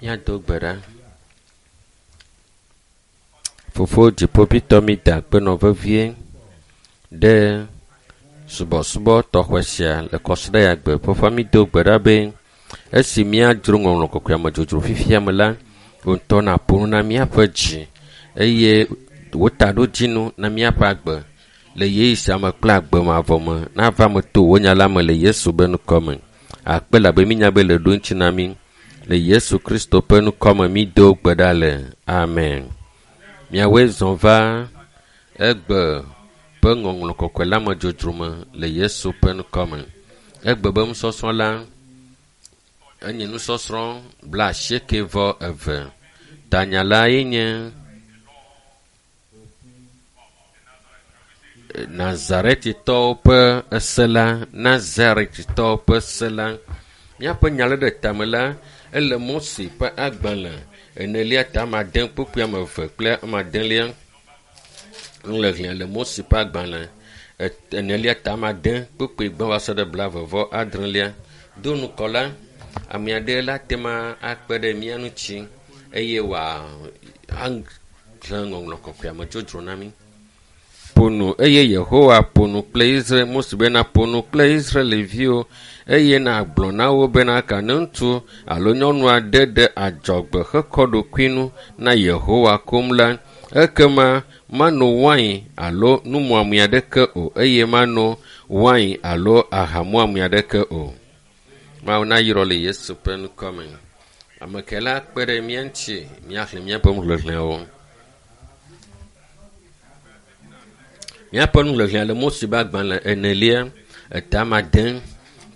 Míado gbe ɖa. Fofo dziƒoʋĩtɔ mi da akpe nɔ vevie ɖe subɔsubɔ tɔxɛ sia le kɔsiɖa ya gbe. Fofoa mi do gbe ɖa be esi míadzro ŋɔŋlɔ kɔkɔea me dzodzro fifia me la, wò ŋutɔ nàƒo nu na míaƒe dzi eye wò taɖodzinu na míaƒe agbe le ɣeyiɣi sia me kple agbe mavɔ me nava me to wò nya la me le Yesu be ŋkɔ me. Akpe labe mínya be le ɖo ŋuti na mí. Le Yesu Kristo ƒe ŋkɔ me mído gbe ɖa le. Amen. Miawoe zɔ va egbe ƒe ŋɔŋlɔ kɔkɔe la me dzodzro me le Yesu ƒe ŋkɔ me. Egbe be nusɔsrɔ̃ la enye nusɔsrɔ̃ 82. Tanya la ye nye Nazaretitɔwo ƒe ese la. Nazaretitɔwo ƒe se la. Míaƒe nya le ɖe tame la ele Mose ƒe agbalẽ enelia ta ame ade kpukpui ame eve kple ame adelia. Nuxexlẽ le Mose ƒe agbalẽ enelia ta ame ade kpukpui gbã va se ɖe 36lia. Do ŋkɔ la, ame aɖe la te ma akpe ɖe mía ŋuti eye wòaxlẽ ŋɔŋlɔ kɔkɔea me dzodzro na mí. Ƒo nu eye Yehowa ƒo nu kple Israel Mose bena ƒo nu kple Israelviwo eye nàgblɔ na wo bena ka ne ŋutsu alo nyɔnu aɖe ɖe adzɔgbe hekɔ ɖokui nu na Yehowa koŋ la, ekema mano wain alo numuame aɖeke o eye mano wain alo ahamuame aɖeke o. Mawu nayrɔ le Yesu ƒe ŋkɔ me. Ame ke la kpe ɖe mía ŋuti míaxlẽ míaƒe nuxexlẽwo. Míaƒe nuxexlẽ le Mose ƒe agbalẽ enelia eta ame ade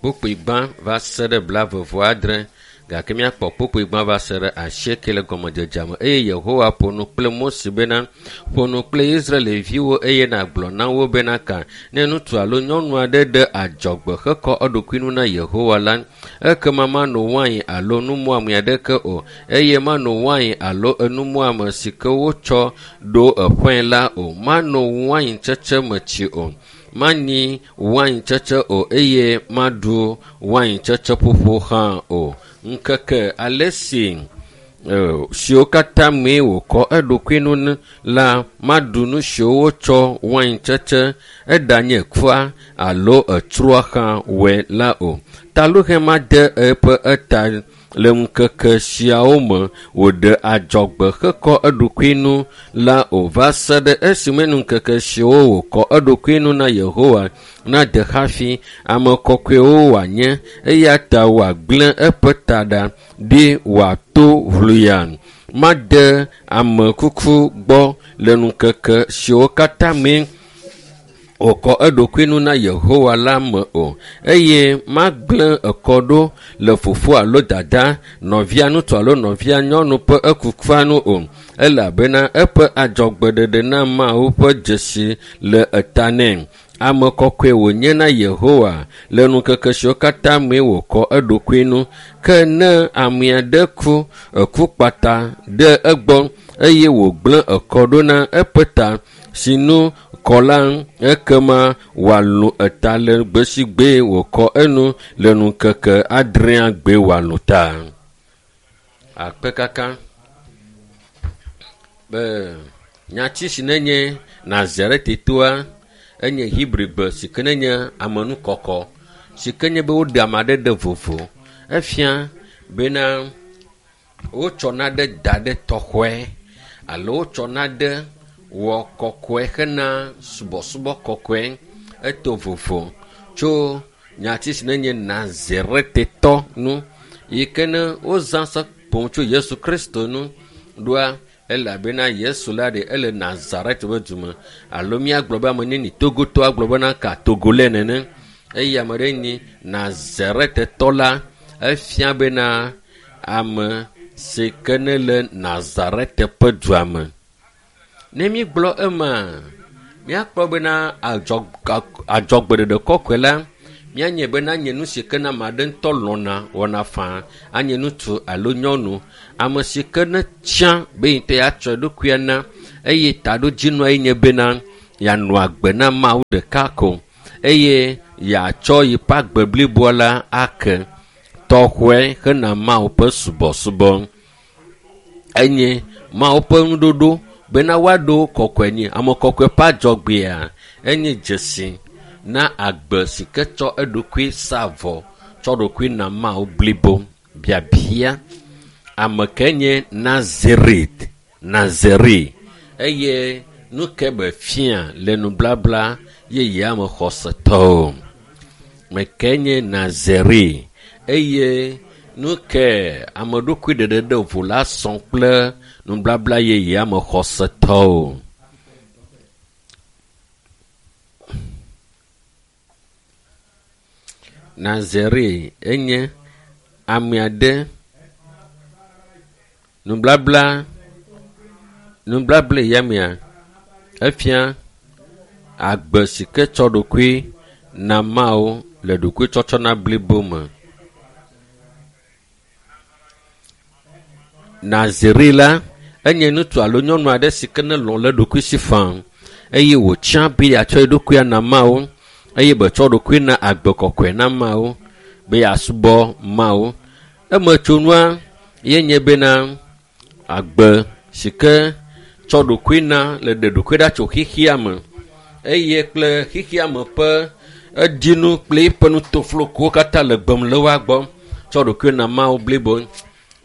kpukpui gbã va se ɖe 36 gake míakpɔ kpukpui gbã va se ɖe 8 le gɔmedzedzea me. Eye Yehowa ƒo nu kple Mose bena, ƒo nu kple Israelviwo eye nàgblɔ na wo bena ka ne ŋutsu alo nyɔnu aɖe ɖe adzɔgbe hekɔ eɖokui nu na Yehowa la, ekema mano wain alo numuame aɖeke o eye mano wain alo enumuame si ke wotsɔ ɖo eƒe la o. Mano wain tsetse me tsi o. Manyi wain tsetse o eye maɖu wain tsetse ƒoƒo hã o. Ŋkeke ale si siwo katã mee wòkɔ eɖokui nu la, maɖu nu siwo wotsɔ wain tsetse eɖanye kua alo etsroa hã wɔe la o. Taluhe made eƒe eta le ŋkeke siawo me wòɖe adzɔgbe hekɔ eɖokui nu la o va se ɖe esime ŋkeke siwo wòkɔ eɖokui nu na Yehowa nade hafi ame kɔkɔewo wòanye eya ta wòagblẽ eƒe taɖa ɖi wòato ʋluya. Made ame kuku gbɔ le ŋkeke siwo katã mee wòkɔ eɖokui nu na Yehowa la me o eye magblẽ ekɔ ɖo le fofoa alo dada, nɔvia ŋutsu alo nɔvia nyɔnu ƒe ekukua nu o elabena eƒe adzɔgbeɖeɖe na Mawu ƒe dzesi le eta nɛ. Ame kɔkɔe wònye na Yehowa le ŋkeke siwo katã mee wòkɔ eɖokui nu. Ke ne ame aɖe ku eku kpata ɖe egbɔ eye wògblẽ ekɔ ɖo na eƒe ta si nu kɔ la, ekema wòalũ eta le gbe si gbe wòkɔ enu le ŋkeke adrea gbe wòalũ ta. Akpe kaka be nyati si nenye Nazaretitoa enye Hebrigbe si ke nenye amenukɔkɔ si ke nye be woɖe ame aɖe ɖe vovo. Efia bena wotsɔ naɖe da ɖe tɔxɔe alo wotsɔ naɖe wɔ kɔkɔe hena subɔsubɔ kɔkɔe. Eto vovo tso nyati si nenye Nazaretetɔ nu yi ke ne wozã sɔ ƒo tso Yesu Kristo nu ɖoa elabena Yesu la ɖe ele Nazaret ƒe du me alo míagblɔ be ame neni Togotɔ agblɔ bena ka Togolais nene eye ame ɖe nyi Nazaretetɔ la efia bena ame si ke ne le Nazaret ƒe dua me. Ne mígblɔ ema, míakpɔ bena adzɔgbeɖeɖe kɔkɔe la míanye bena nye nu si ke ne ame aɖe ŋutɔ lɔ̃na wɔna faa anye ŋutsu alo nyɔnu ame si ke ne tsã be yi ŋutɔ yeatsɔ eɖokuia na eye taɖodzinua ye nye bena yeanɔ agbe na Mawu ɖeka ko eye yeatsɔ yiƒe agbe bliboa la ake tɔxɔe hena Mawu ƒe subɔsubɔ. Enye Mawu ƒe nuɖoɖo bena woaɖo kɔkɔe nyi. Ame kɔkɔe ƒe adzɔgbea enye dzesi na agbe si ke tsɔ eɖokui sa vɔ tsɔ ɖokui na Mawu blibo. Biabia ame ke nye Nazaret, Nazare eye nu ke be fia le nublabla yeyea me xɔsetɔwo. Me ke nye Nazare eye nu ke ame ɖokui ɖeɖe ɖe vo la sɔ kple nublabla yeyea me xɔsetɔwo. Nazare enye ame aɖe nublabla nublabla ya mea efia agbe si ke tsɔ ɖokui na Mawu le ɖokuitsɔtsɔna blibo me. Naziri la enye ŋutsu alo nyɔnu aɖe si ke nelɔ̃ le eɖokui si faa eye wòtsã be yeatsɔ eɖokui ana Mawu eye betsɔ ɖokui na agbe kɔkɔe na Mawu be yeasubɔ Mawu. Emetsonua ye nye bena agbe si ke tsɔ ɖokui na le ɖe ɖokui ɖa tso xexea me eye kple xexea me ƒe edinu kple eƒe nutoflokowo katã le gbem le woa gbɔ tsɔ ɖokui na Mawu blibo.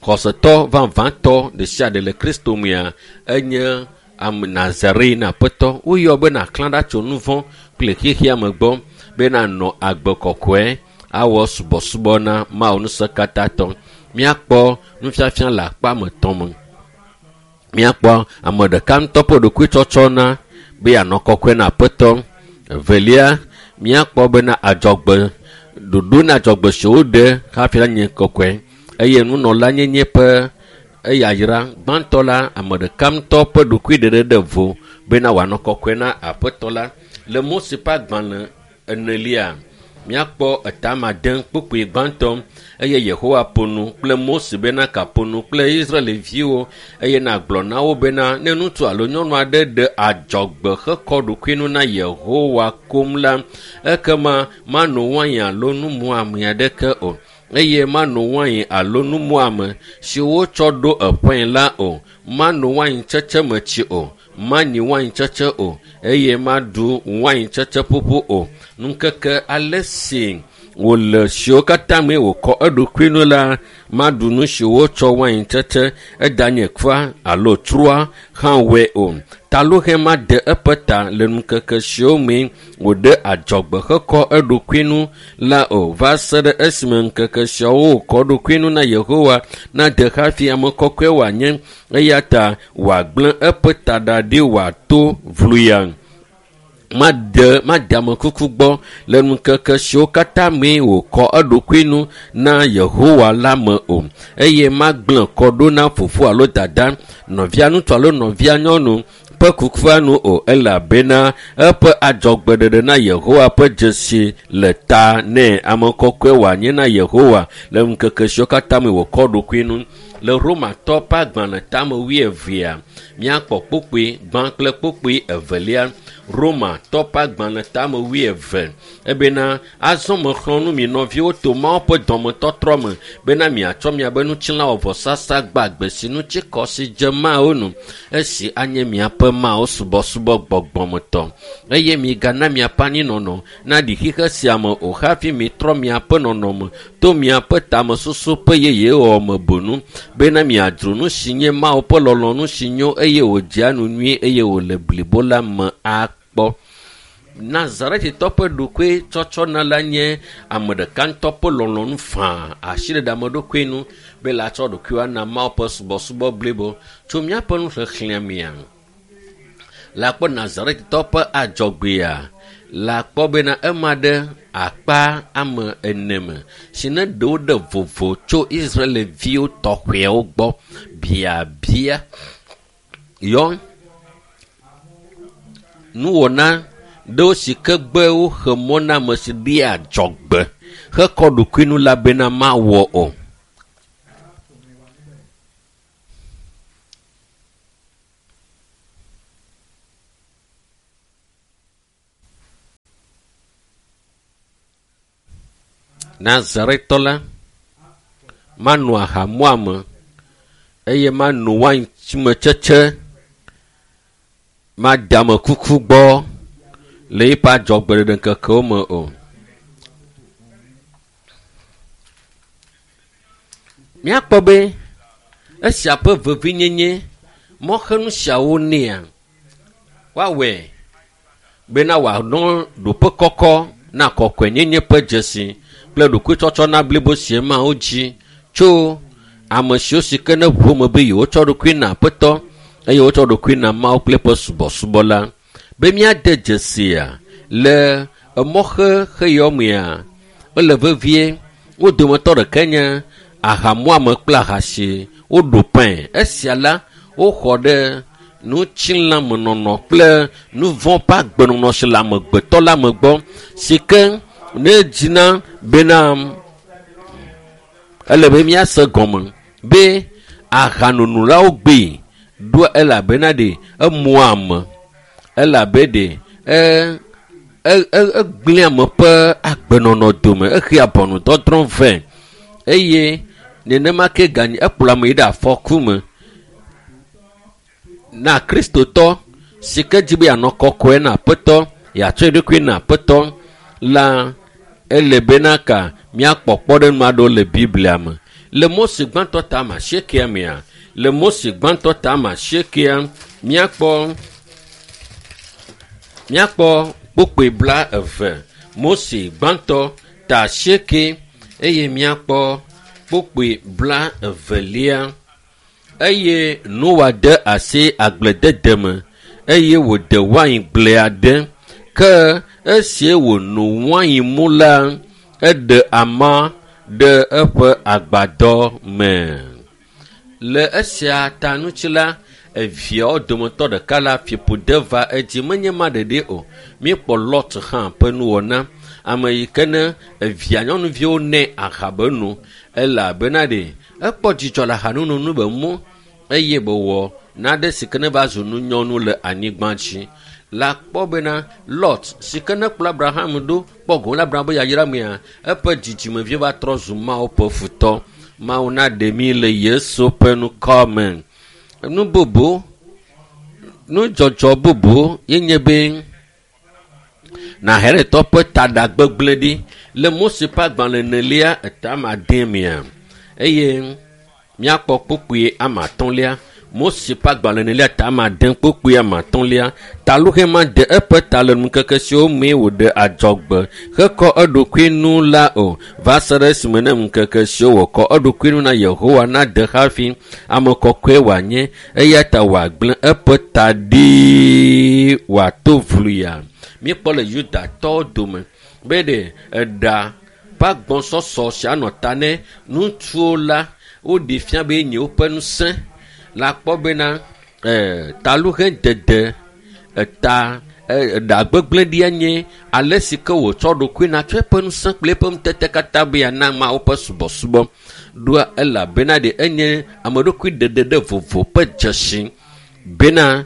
Xɔsetɔ vavãtɔ ɖe sia ɖe le Kristo mea enye ame Nazare na Aƒetɔ. Woyɔ be nàxlã ɖa tso nu vɔ̃ kple xexea me gbɔ be nànɔ agbe kɔkɔe awɔ subɔsubɔ na Mawu ŋusẽkatãtɔ. Míakpɔ nufiafia le akpa me tɔ̃ me. Míakpɔ ame ɖeka ŋutɔ ƒe ɖokuitsɔtsɔ na be yeanɔ kɔkɔe na Aƒetɔ. Evelia, míakpɔ bena adzɔgbe ɖoɖo na adzɔgbe si woɖe hafi la nye kɔkɔe eye nunɔlanyenye ƒe eyayra gbãtɔ la ame ɖeka ŋutɔ ƒe ɖokui ɖeɖe ɖe vo bena wòanɔ kɔkɔe na Aƒetɔ la. Le Mose ƒe agbalẽ enelia, míakpɔ etama de kpukpui gbãtɔ eye Yehowa ƒo nu kple Mose bena kaƒo nu kple Israelviwo eye nàgblɔ na wo bena ne ŋutsu alo nyɔnu aɖe ɖe adzɔgbe hekɔ ɖokui nu na Yehowa koŋ la, ekema mano wain alo numuame aɖeke o eye mano wain alo numuame si wotsɔ ɖo eƒãe la o. Mano waintsetse me tsi o, manyi waintsetse o eye maɖu waintsetse ƒuƒu o. Ŋkeke ale si wòle siwo katã mee wòkɔ eɖokui nu la, maɖu nu si wotsɔ waintsetse eɖanye kua alo trua hã wɔe o. Talũhɛ made eƒe ta le ŋkeke siwo mee wòɖe adzɔgbe hekɔ eɖokui nu la o va se ɖe esime ŋkeke siawo wòkɔ eɖokui nu na Yehowa nade hafi ame kɔkɔe wòanye eya ta wòagblẽ eƒe taɖa ɖi wòato vluya. Made made amekuku gbɔ le ŋkeke siwo katã mee wòkɔ eɖokui nu na Yehowa la me o eye magblẽ kɔ ɖo na fofo alo dada, nɔvia ŋutsu alo nɔvia nyɔnu ƒe kukua nu o elabena eƒe adzɔgbeɖeɖe na Yehowa ƒe dzesi le ta nɛ. Ame kɔkɔe wòanye na Yehowa le ŋkeke siwo katã me wòkɔ ɖokui nu. Le Romatɔ ƒe agbalẽ tame wuievea, míakpɔ kpukpui gbã kple kpukpui evelia. Romatɔ ƒe agbalẽ tame wuieve ebena azɔ mexlɔ̃ nu mi nɔviwo to Mawu ƒe dɔmetɔtrɔ me bena miatsɔ miaƒe ŋutilã wɔ vɔsasa gbagbe si ŋuti kɔ si dze Mawu nu esi anye miaƒe Mawu subɔsubɔ gbɔgbɔmetɔ eye migana miaƒe anyinɔnɔ naɖi xixe sia me o hafi mitrɔ miaƒe nɔnɔme to miaƒe tamesusu ƒe yeyewɔwɔ me bonu bena miadzro nu si nye Mawu ƒe lɔlɔ̃nu si nyo eye wòdzea nu nyui eye wòle blibo la me akpɔ. Nazaretitɔ ƒe ɖokui tsɔtsɔ na la nye ame ɖeka ŋutɔ ƒe lɔlɔ̃nu faa asiɖeɖe ame ɖokui nu be la tsɔ ɖokuiwo ana Mawu ƒe subɔsubɔ blibo tso míaƒe nuxexlẽ mea. Le akpɔ Nazaretitɔ ƒe adzɔgbea le akpɔ bena ema ɖe akpa ame ene me si ne ɖewo ɖe vovo tso Israelviwo tɔxɛwo gbɔ biabia yɔ nuwɔna ɖewo si ke gbe woxe mɔ na ame si ɖe adzɔgbe hekɔ ɖokui nu la bena mawɔ o. Nazaretɔ la mano aha muame Eye mano waintsetse made ame kuku gbɔ le eƒe adzɔgbeɖeɖeŋkekewo me o. Míakpɔ be esia ƒe vevienyenye mɔxenu siawo nɛa woawɔe bena wòanɔ ɖoƒe kɔkɔ na kɔkɔenyenye ƒe dzesi kple ɖokuitsɔtsɔ na blibo si Mawu dzi tso ame siwo si ke ne ʋu me be yewotsɔ ɖokui na Aƒetɔ eye wotsɔ ɖokui na Mawu kple eƒe subɔsubɔ la. Be míade dzesia le emɔxexe yawo mea, ele vevie. Wo dometɔ ɖeka nye ahamuame kple aha si woɖo pɛ̃. Esia la, woxɔ ɖe ŋutilãmenɔnɔ kple nu vɔ̃ ƒe agbenɔnɔ si le amegbetɔ la me gbɔ si ke ne dzina bena ele be míase gɔme be ahanonolawo gbee ɖo elabena ɖe emua ame elabe ɖe egblẽ ame ƒe agbenɔnɔ dome exea ʋɔnudɔdrɔ̃ vɛ eye nenema ke ganyi ekplɔ ame yi ɖe afɔku me. Na Kristotɔ si ke dzi be yeanɔ kɔkɔe na Aƒetɔ, yeatsɔ eɖokui na Aƒetɔ la, ele bena ka míakpɔ kpɔɖeŋu aɖewo le Biblia me. Le Mose gbãtɔ ta ame asiekea mea, le Mose gbãtɔ ta ame asiekea, míakpɔ míakpɔ kpukpui 20. Mose gbãtɔ ta 8 eye míakpɔ kpukpui 20. Eye Noa de asi agbledede me eye wòde waingble aɖe. Ke esi wòno wain mu la, eɖe ama ɖe eƒe agbadɔ me. Le esia ta ŋuti la, eviawo dometɔ ɖeka la fiƒode va edzi. Menye ma ɖeɖe o. Míekpɔ Lot hã ƒe nuwɔna. Ame yi ke ne evia nyɔnuviwo nɛ aha be no elabena ɖe ekpɔ dzidzɔ le ahanono nu be mu eye bewɔ nane si ke ne va zu nunyɔnu le anyigba dzi. La kpɔ bena Lot si ke ne kplɔ Abraham ɖo kpɔ gome le Abraham ƒe yayra mea, eƒe dzidzimevi va trɔ zu Mawu ƒe futɔ. Mawu naɖe mí le Yesu ƒe ŋkɔ me. Nu bubu, nudzɔdzɔ bubu ye nye be Naharetɔ ƒe taɖa gbegblẽ ɖi le Mose ƒe agbalẽ enelia eta ame ade mea eye míakpɔ kpukpui ame atɔ̃lia. Mose ƒe agbalẽ enelia ta ame ade kpukpui ame atɔ̃lia. Taluxe ma de eƒe ta le ŋkeke siwo mee wòɖe adzɔgbe hekɔ eɖokui nu la o va se ɖe esime ne ŋkeke siwo wòkɔ eɖokui nu na Yehowa nade hafi ame kɔkɔe wòanye eya ta wòagblẽ eƒe ta ɖi wòato vluya. Míekpɔ le Yudatɔwo dome be ɖe eɖa ƒe agbɔsɔsɔ si anɔ ta ne ŋutsuwo la woɖe fia be nye woƒe ŋusẽ la kpɔ bena taluxe dede eta eɖa gbegblẽ ɖia nye ale si ke wòtsɔ ɖokui na tsɔ eƒe ŋusẽ kple eƒe ŋutete katã be yeana Mawu ƒe subɔsubɔ ɖoa elabena ɖe enye ame ɖokui ɖeɖe ɖe vovo ƒe dzesi bena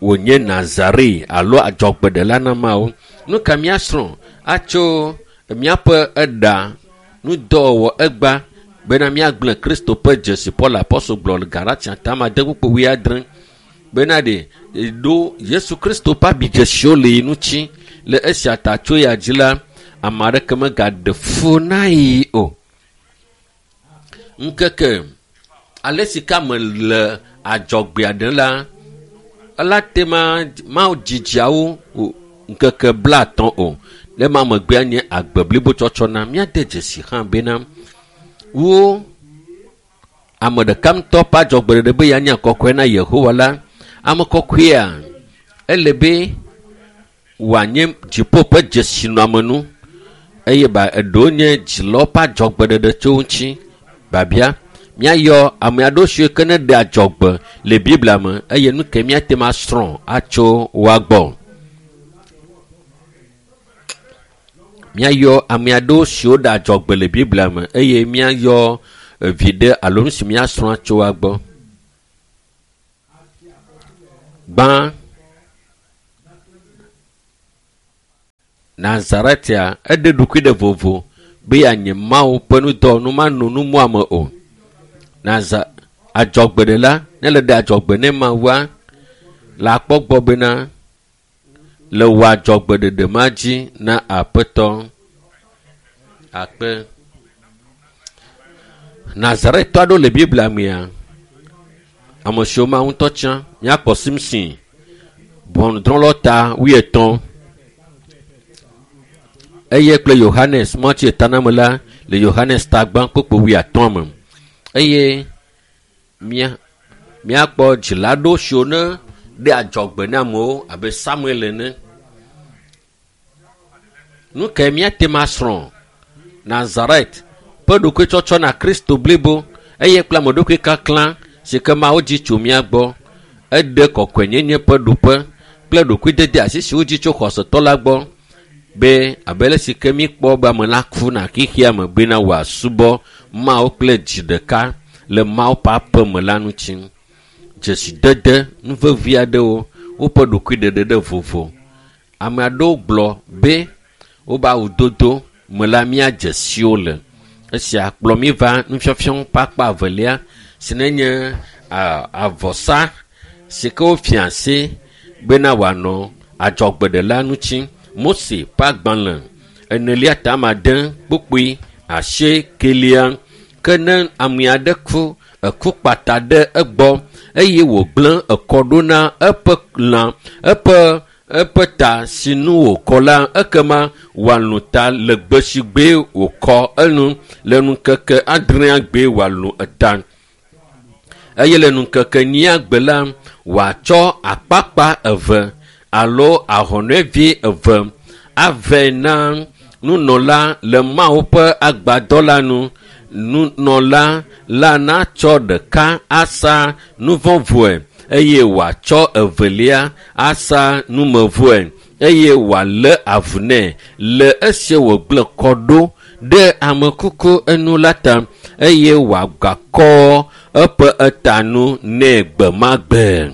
wònye Nazare alo adzɔgbeɖela na Mawu. Nu ka míasrɔ̃ atso míaƒe eɖa nudɔwɔwɔ egba bena míagblẽ Kristo ƒe dzesi Paul apɔstol gblɔ le Galatia ta ame ade kpukpui wuiadre bena ɖe ɖo Yesu Kristo ƒe abidzesiwo le yi ŋuti le esia ta tso ya dzi la ame aɖeke megaɖe fu na yi o. Ŋkeke ale si ke ame le adzɔgbea ɖem la ela te ma Mawu dzidziawo ŋkeke 50 o. Le ma megbea nye agbe blibo tsɔtsɔ na míade dzesi hã bena wo ame ɖeka ŋutɔ ƒe adzɔgbeɖeɖe be yeanye kɔkɔe na Yehowa la, ame kɔkɔea ele be wòanye dziƒo ƒe dzesinɔamenu eye ba eɖewo nye dzilawo ƒe adzɔgbeɖeɖe tso ŋuti. Babia míayɔ ame aɖewo siwo ke ne ɖe adzɔgbe le Biblia me eye nu ke míate ŋu asrɔ̃ atso woa gbɔ. Míayɔ ame aɖewo siwo ɖe adzɔgbe le Biblia me eye míayɔ viɖe alo nu si míasrɔ̃ atso woa gbɔ. Gbã, Nazaretia eɖe ɖokui ɖe vovo be yeanye Mawu ƒe nudɔwɔnu mano nu muame o. Adzɔgbeɖela ne le ɖe adzɔgbe ne Mawua, le akpɔ gbɔ bena le wò adzɔgbeɖeɖe ma dzi na Aƒetɔ. Akpe. Nazaretɔ aɖewo le Biblia mea, ame siwo Mawu ŋutɔ tsã, míakpɔ Simson, ʋɔnudrɔ̃lawo ta wuietɔ̃. Eye kple Yohanes mɔtsi etaname la le Yohanes ta gbã kpokpo wuiatɔ̃ me. Eye mía míakpɔ dzila aɖewo siwo ne ɖe adzɔgbe na amewo abe Samuel ene. Nu kae míate ŋu asrɔ̃? Nazaret ƒe ɖokuitsɔtsɔ na Kristo blibo eye kple ame ɖokui kaklã si ke Mawu dzi tso mía gbɔ. Eɖe kɔkɔenyenye ƒe ɖoƒe kple ɖokuidede asi si wodzi tso xɔsetɔ la gbɔ be abe ale si ke míkpɔ be ame la ku na xexea me bena wòasubɔ Mawu kple dzi ɖeka le Mawu ƒe aƒe me la ŋuti. Dzesidede nu vevi aɖewo, woƒe ɖokuiɖeɖe ɖe vovo. Ame aɖewo gblɔ be wobe awudodo me la míadze si wo le. Esia kplɔ mí va nufiafia ƒe akpa evelia si nenye avɔsa si ke wofia asi bena wòanɔ adzɔgbeɖela ŋuti. Mose ƒe agbalẽ enelia ta ame ade kpukpui asiekelia. Ke ne ame aɖe ku, eku kpata ɖe egbɔ eye wògblẽ ekɔ ɖo na eƒe lã, eƒe eƒe ta si nu wòkɔ la, ekema wòalũ ta le gbe si gbe wòkɔ enu le ŋkeke adrea gbe wòalũ eta. Eye le ŋkeke enyia gbe la, wòatsɔ akpakpa eve alo ahɔnɛvi eve avɛ na nunɔla le Mawu ƒe agbadɔ la nu. Nunɔla la natsɔ ɖeka asa nuvɔ̃vɔe eye wòatsɔ evelia asa numevɔe eye wòalé avu nɛ le esi wògblẽ kɔ ɖo ɖe ame kuku enu la ta eye wòagakɔ eƒe eta nu nɛ gbe ma gbe.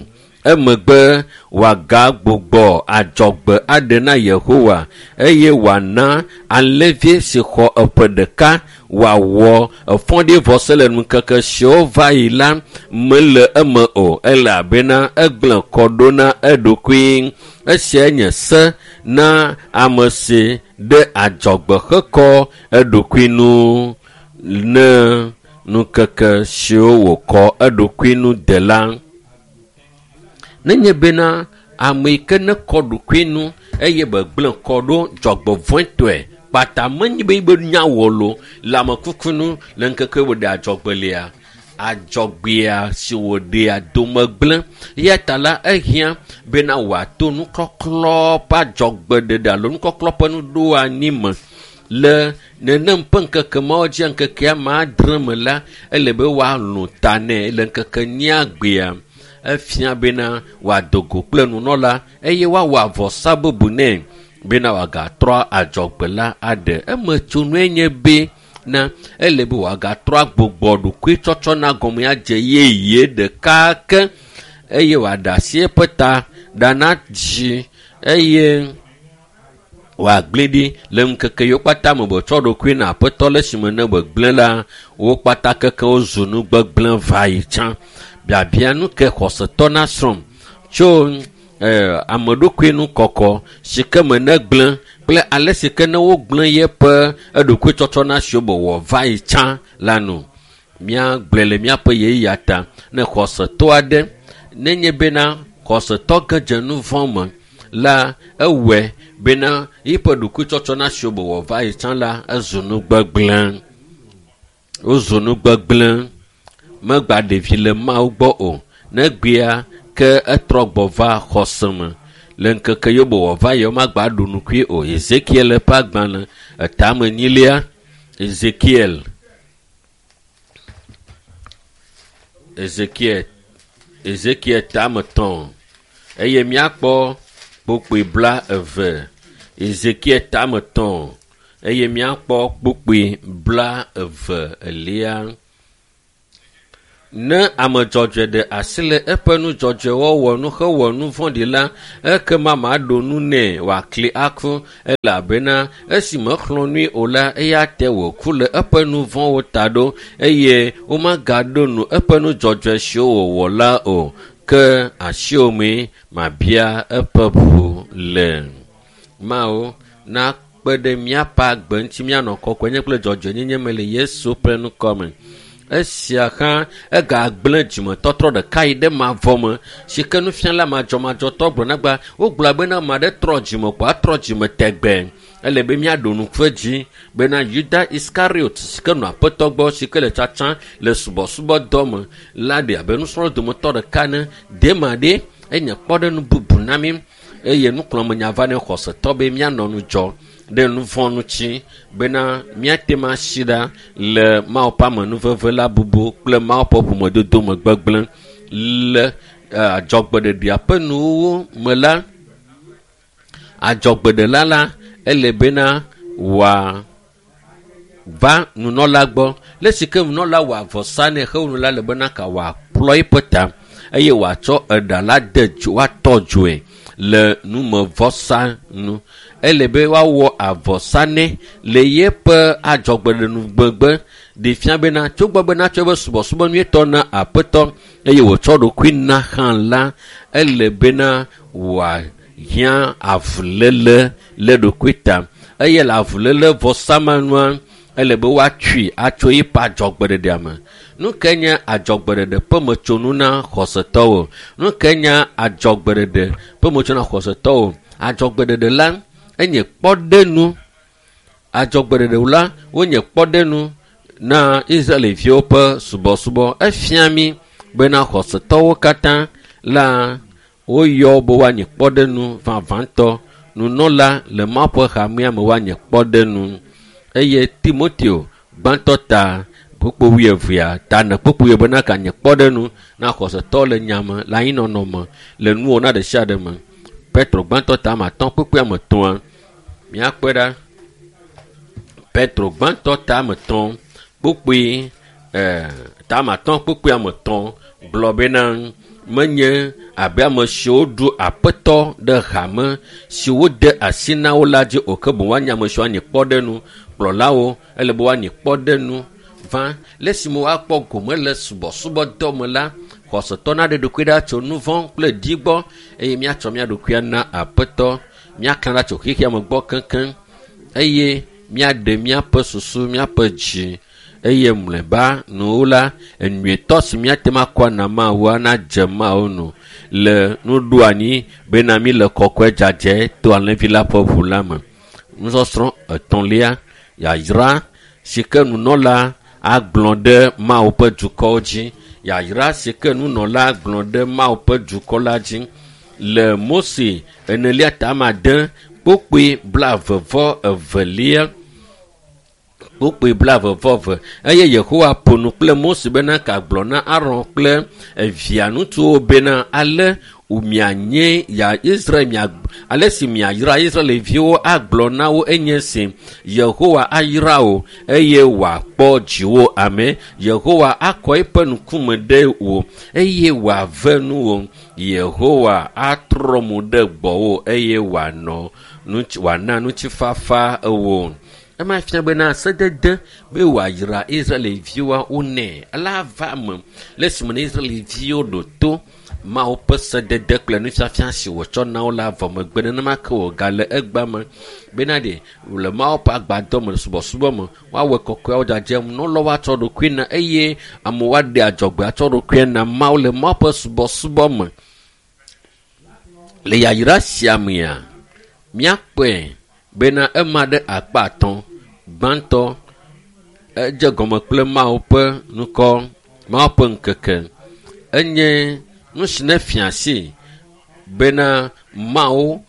Emegbe wòagagbugbɔ adzɔgbe aɖe na Yehowa eye wòana alẽvi si xɔ eƒe ɖeka wòawɔ efɔɖivɔse le ŋkeke siwo va yi la mele eme o elabena egblẽ kɔ ɖo na eɖokui. Esia nye se na ame si ɖe adzɔgbe hekɔ eɖokui nu ne ŋkeke siwo wòkɔ eɖokui nu de la. Nenye bena ame yi ke nekɔ ɖokui nu eye begblẽ kɔ ɖo dzɔgbevɔ̃etɔe kpata menye be yibe nya wɔ lo le amekuku nu le ŋkeke wòɖe adzɔgbe lia, adzɔgbea si wòɖea dome gblẽ. Eya ta la ehiã bena wòato nukɔklɔ ƒe adzɔgbeɖeɖe alo nukɔklɔ ƒe nuɖoanyi me. Le nenem ƒe ŋkeke mawo dzia ŋkekea me adre me la, ele be woalũ ta nɛ le ŋkeke enyia gbea. Efia bena wòado go kple nunɔla eye woawɔ avɔsa bubu nɛ bena wòagatrɔ adzɔgbe la aɖe. Emetsonue nye be na ele be wòagatrɔ agbugbɔ ɖokuitsɔtsɔ na gɔme adze yeye ɖeka ke eye wòaɖe asi eƒe ta ɖa na dzi eye wòagblẽ ɖi le ŋkeke yiwo kpata me wòtsɔ ɖokui na Aƒetɔ le esime ne wògblẽ la, wo kpata keke wozu nu gbegblẽ va yi tsã. Biabia nu ke xɔsetɔ nasrɔ̃ tso ame ɖokui nu kɔkɔ si ke me negblẽ kple ale si ke ne wogblẽ yeƒe eɖokuitsɔtsɔ na siwo wòwɔ va yi tsã la nu. Míagblɔe le míaƒe ɣeyiɣia ta ne xɔsetɔ aɖe nenye bena xɔsetɔ ge dze nu vɔ̃ me la, ewɔe bena yiƒe ɖokuitsɔtsɔ na siwo wòwɔ va yi tsã la ezu nu gbegblẽ. Wozu nu gbegblẽ. Megba ɖevi le Mawu gbɔ o. Negbea ke etrɔ gbɔ va xɔse me. Le ŋkeke yiwo wòwɔ va yi womagba ɖu nukui o. Ezekiel ƒe agbalẽ etame enyilia. Ezekiel. Ezekiel. Ezekiel tame tɔ̃ eye míakpɔ kpukpui bla eve. Ezekiel tame tɔ̃ eye míakpɔ kpukpui bla eve elia. Ne ame dzɔdzɔe ɖe asi le eƒe nu dzɔdzɔe wɔwɔ nu hewɔ nu vɔ̃ɖi la, ekema maɖo nu nɛ wòakli aku elabena esi mexlɔ̃ nui o la, eya te wòku le eƒe nu vɔ̃wo ta ɖo eye womagaɖo nu eƒe nu dzɔdzɔe siwo wòwɔ la o. Ke asiwò mee mabia eƒe ʋu le. Mawu nakpe ɖe míaƒe agbe ŋuti míanɔ kɔkɔenye kple dzɔdzɔenyenye me le Yesu ƒe ŋkɔ me. Esia hã egagblẽ dzimetɔtrɔ ɖeka yi ɖe mavɔ me si ke nufiala madzɔmadzɔtɔ gblɔ na gba wogblɔ bena ame aɖe trɔ dzime ko atrɔ dzime tegbe. Ele be míaɖo ŋku edzi bena Yuda Iskariot si ke nɔ aƒetɔ gbɔ si ke le tsatsa le subɔsubɔdɔ me la ɖe abe nusrɔ̃la dometɔ ɖeka ene. Dema ɖe enye kpɔɖeŋu bubu na mí eye nuxlɔ̃amenya va ne xɔsetɔ be míanɔ ŋudzɔ ɖe nu vɔ̃ ŋuti bena míate ŋu asi ɖa le Mawu ƒe amenuveve la bubu kple Mawu ƒe ƒomedodo me gbegblẽ le adzɔgbeɖeɖea ƒe nuwuwu me la, adzɔgbeɖela la ele bena wòava nunɔla gbɔ. Le si ke nunɔla wɔ avɔsa nɛ hewu nu la le bena ka wòaplɔ eƒe ta eye wòatsɔ eɖa la de dzo woatɔ dzoe le numevɔsa nu. Ele be woawɔ avɔsa nɛ le yeƒe adzɔgbeɖenugbegbe ɖe fia bena tsogbɔ bena tsɔ eƒe subɔsubɔ nyuietɔ na aƒetɔ eye wòtsɔ ɖokui na hã la, ele bena wòahiã avuléle le ɖokui ta eye le avuléle vɔsa ma nua, ele be woatsui atso eƒe adzɔgbeɖeɖea me. Nu ke nye adzɔgbeɖeɖe ƒe metsonu na xɔsetɔwo? Nu ke nye adzɔgbeɖeɖe ƒe metsonu na xɔsetɔwo? Adzɔgbeɖeɖe la enye kpɔɖenu. Adzɔgbeɖeɖe la wonye kpɔɖenu na Israelviwo ƒe subɔsubɔ. Efia mí bena xɔsetɔwo katã la woyɔ be woanye kpɔɖenu vavãtɔ. Nunɔla le Mawu ƒe hamea me woanye kpɔɖenu eye Timoteo gbãtɔ ta kpukpu wuievea ta ne kpukpui bena ganye kpɔɖenu na xɔsetɔ le nyame le anyinɔnɔ me le nuwɔna ɖe sia ɖe me. Petro gbãtɔ ta ame atɔ̃ kpukpui ame etɔ̃a míakpɔe ɖa. Petro gbãtɔ ta ame etɔ̃ kpukpui ta ame atɔ̃ kpukpui ame etɔ̃ gblɔ bena menye abe ame siwo ɖu aƒetɔ ɖe hame si wode asi na wo la dzi o ke boŋ woanye ame siwo anye kpɔɖenu kplɔlawo ele be woanye kpɔɖenu va le esime woakpɔ gome le subɔsubɔdɔ me la xɔsetɔ naɖe ɖokui ɖa tso nu vɔ̃ kple di gbɔ eye míatsɔ mía ɖokuia na aƒetɔ míaklã ɖa tso xexea me gbɔ keŋkeŋ eye míaɖe míaƒe susu míaƒe dzi eye mlɔeba nuwo la enyuietɔ si míate ŋu akɔ na Mawua nadze Mawu nu le nuɖoanyi bena mí le kɔkɔe dzadzɛ to alẽvi la ƒe ʋu la me. Nusɔsrɔ̃ etɔ̃lia yayra si ke nunɔla agblɔ ɖe Mawu ƒe dukɔwo dzi. Yayra si ke nunɔla agblɔ ɖe Mawu ƒe dukɔ la dzi le Mose enelia ta ame ade kpukpui blaeve-vɔ-evelia kpukpui blaeve-vɔ-eve eye Yehowa ƒo nu kple Mose bena kagblɔ na Aron kple evia ŋutsuwo bena ale mianye ya Israel mia ale si miayra Israelviwo agblɔ na wo enye si Yehowa ayra wò eye wòakpɔ dziwò ame. Yehowa akɔ eƒe ŋkume ɖe wò eye wòave nuwò. Yehowa atrɔ mo ɖe gbɔwò eye wòanɔ wòana ŋutifafa wò. Ema fia bena sedede be wòayra Israelviwoa wonɛ ela va eme le esime ne Israelviwo ɖo to Mawu ƒe sedede kple nufiafia si wòtsɔ na wo la vɔ megbe nenema ke wògale egbea me bena ɖe le Mawu ƒe agbadɔ me le subɔsubɔ me woawɔ kɔkɔeawo dzadzem nunɔlawo atsɔ ɖokui na eye amewo aɖe adzɔgbe atsɔ ɖokui na Mawu le Mawu ƒe subɔsubɔ me. Le yayra sia mea, míakpɔe bena ema ɖe akpa atɔ̃. Gbãtɔ edze gɔme kple Mawu ƒe ŋkɔ, Mawu ƒe ŋkeke. Enye nu si ne fia asi bena Mawu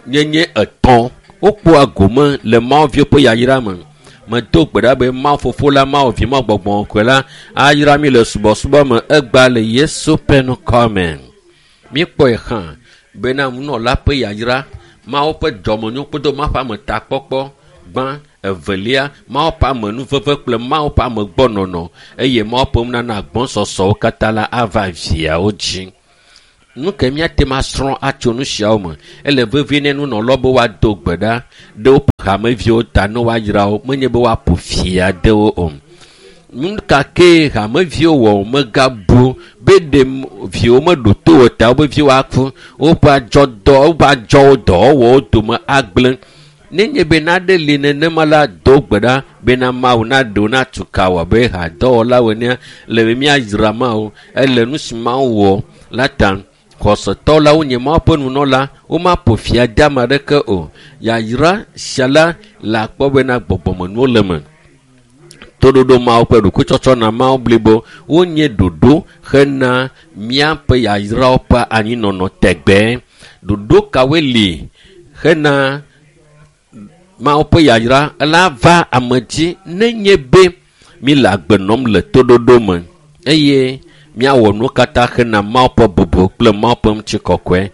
nyenye etɔ̃ wokpɔa gome le Mawu viwo ƒe yayra me. Medo gbe ɖa be Mawu fofo la, Mawu vi, Mawu gbɔgbɔ kɔkɔe la ayra mí le subɔsubɔ me egbea le Yesu ƒe ŋkɔ me. Míekpɔe hã bena nunɔla ƒe yayra, Mawu ƒe dɔmenyo kple Mawu ƒe ametakpɔkpɔ gbã Evelia, Mawu ƒe amenuveve kple Mawu ƒe amegbɔnɔnɔ eye Mawu ƒe nunana gbɔsɔsɔwo katã la ava viawo dzi. Nu ke míate ŋu asrɔ̃ atso nu siawo me. Ele vevie ne nunɔlawo be woado gbe ɖa ɖe woƒe hameviwo ta ne woayra wo, menye be woaƒo fi ade wo o. Nu ka kee hameviwo wɔ megabu be ɖe viwo meɖo to o ta wobe viwo aku, woƒe adzɔdɔ woƒe adzɔwo dɔwɔwɔwo dome agblẽ. Nenye be naɖe li nenema la, do gbe ɖa bena Mawu naɖe wo natu ka wɔ abe hadɔwɔlawo enea le be míayra Mawu. Ele nu si Mawu wɔ la ta. Xɔsetɔ la wonye Mawu ƒe nunɔla, womaƒo fi ade ame aɖeke o. Yayra sia la le akpɔ bena gbɔgbɔmenuwo le eme. Toɖoɖo Mawu ƒe ɖokuitsɔtsɔ na Mawu blibo wonye ɖoɖo hena míaƒe yayrawo ƒe anyinɔnɔ tegbee. Ɖoɖo kawoe li hena Mawu ƒe yayra la va ame dzi nenye be míle agbe nɔm le toɖoɖo me eye míawɔ nuwo katã hena Mawu ƒe bubu kple Mawu ƒe ŋutikɔkɔe.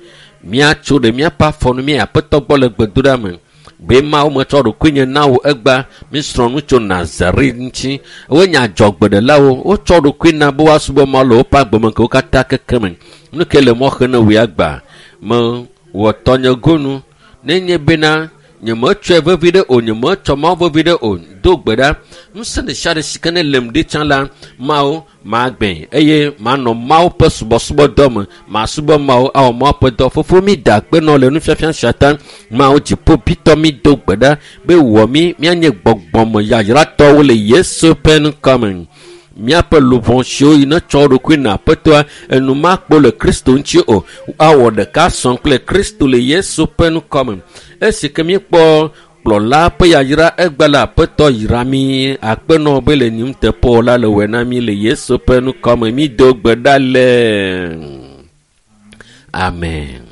Míatso ɖe míaƒe afɔnu mía Aƒetɔ gbɔ le gbedoɖa me. Be Mawu metsɔ ɖokuinye na wò egbea, mísrɔ̃ nu tso Nazare ŋuti. Wonye adzɔgbeɖelawo, wotsɔ ɖokui na be woasubɔ Mawu le woƒe agbemeŋkekewo katã keke me. Nu ke le mɔ xem ne wò ya gbea, mewɔ tɔnye gonu. Nenye bena nyemetsɔe vevi ɖe o, nyemetsɔ Mawu vevi ɖe o, do gbe ɖa. Ŋusẽ ɖe sia ɖe si ke ne lem ɖi tsã la, Mawu magbee eye manɔ Mawu ƒe subɔsubɔdɔ me. Masubɔ Mawu awɔ Mawu ƒe dɔ. Fofo mi da akpe nɔ le nufiafia sia ta. Mawu dziƒo bitɔ mi do gbe ɖa be wɔ mi míanye gbɔgbɔme yayratɔwo le Yesu ƒe ŋkɔ me. Míaƒe luʋɔ siwo yi ne tsɔ ɖokui na Aƒetɔa enumakpo le Kristo ŋuti o. Awɔ ɖeka sɔ kple Kristo le Yesu ƒe ŋkɔ me. Esi ke míekpɔ kplɔla ƒe yayra egbe la Aƒetɔ yra mí akpenɔ be le nuteƒewɔla la le wɔe na mí le Yesu ƒe ŋkɔ me. Mído gbe ɖa le. Amen.